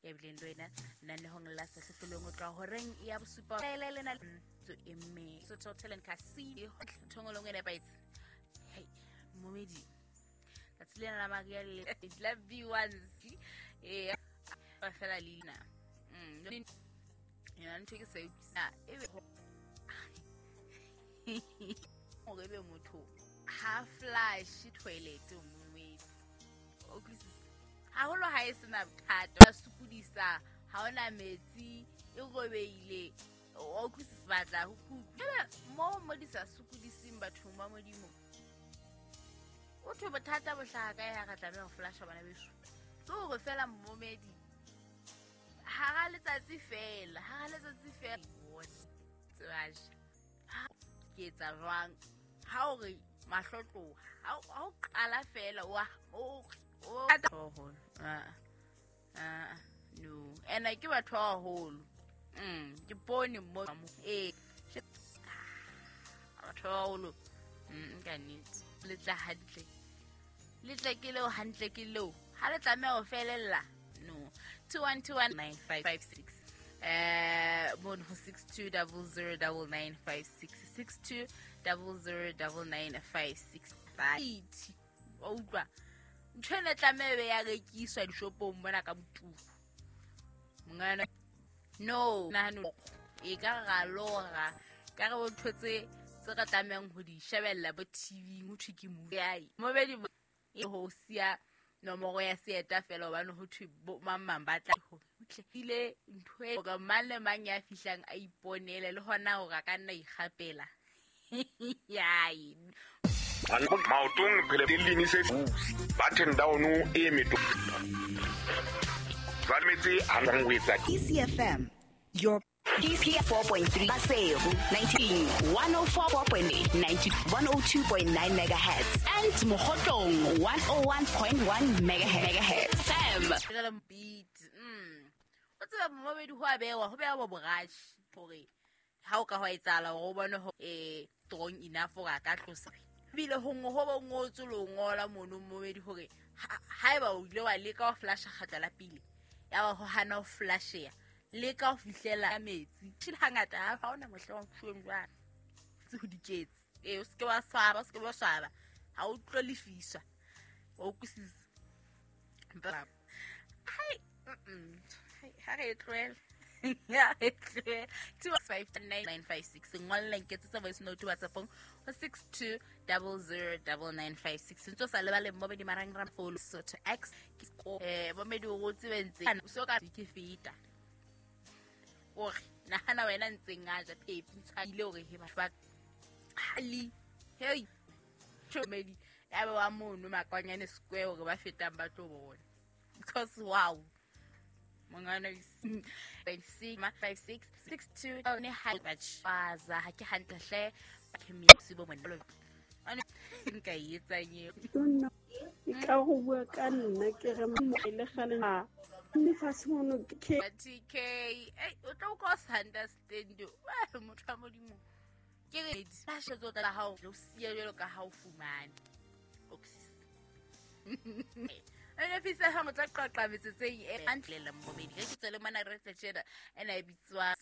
Ya bileng le wena lenanehong la Sehlohlolong o tloha horeng ya bosupa le lena tso emme Sotho Hotel and Casino thongolong e nepahetse. Hey, momedi tsatsi lena la Maria le la B1C e ba fela leina. Yona ntho ke sa e utlwisisa ebe hore ebe motho ha flush toilet momedi o utlwisisa haholo ha e sena bothata ba sokodisa ha ona metsi e robeile o utlwisisa batla ho kutlwa mo mo di sa sokodiseng bathong ba modimo o thwe bothata bo hlaha kae ha re tlameha ho flasha bana beso ke hore fela mmomedi hara letsatsi fela hara letsatsi fela tsebaje ke etsa jwang ha o re mahlo tloha ha o qala fela wa o no ena ke batho ba baholo ke bone mo e batho ba baholo ka nnete le tla hantle le tla ke leo hantle ke leo ha le tlameha ho felella no 21219556 mono ho 62009956 62009956 wa utlwa ntho ena tlameha be ya rekiswa dishopong mona ka boturu mongana no nahano e ka ra lora ka re ntho tse re tlamehang ho di shebella bo TV ho thwe ke movie ai mobedi e ho siya nomoro ya seeta fela hobane ho thwe mang mang ba tla ho ile ntho e hore mang le mang ya fihlang a iponele le hona hore a ka nna ikgapela yai maotong phele le se button down e meto ba metse a nang ho etsa ECFM your DC 4.3 Maseru 19 104.8 90 102.9 megahertz and Mokhotlong 101.1 megahertz FM beat o tseba momedi ho a bewa ho bewa borashi hore ha o ka hwa etsahala hore o bone hore strong enough hore a ka tlosa ebile ho ho bo ngotswe le ngola mono momedi hore haeba o ile wa leka ho flasha kgatla la pele ya ba ho hana ho flashea leka ho fihlela metsi tshile hangata ha ona mohla wa mfueng jwang tse ho diketse o seke wa swaba o seke wa swaba ha o tlo lefiswa o utlwisisa hai ha re tlohele ya re tlohele 259956 ngolla nketsetsa voice note WhatsAppong ho 62009956 ntse o sa lebale momedi marangrang follow Sotho X momedi o tsebe ntse so ka ke feta ore nahana wena ntseng a ja phepi ntshwaile hore he batho ba hali hey medi ya ba wa mono Makwanyane Square hore ba fetang ba tlo bona because wow mongana 656 62 ne ha ba baza ha ke hantle hle ke mi se bo mona ane nka etsang eo ka go bua ka nna ke re mo ile gale mme fatshe mono ke TK o tlo go sa understand wa motho wa modimo ke re di tso tla hao lo siya jwalo ka ha o fumane oxys ene fisa ha motla qaqa metsotseng e hantle la momedi ke tswele mona re tse tjena ena e bitswa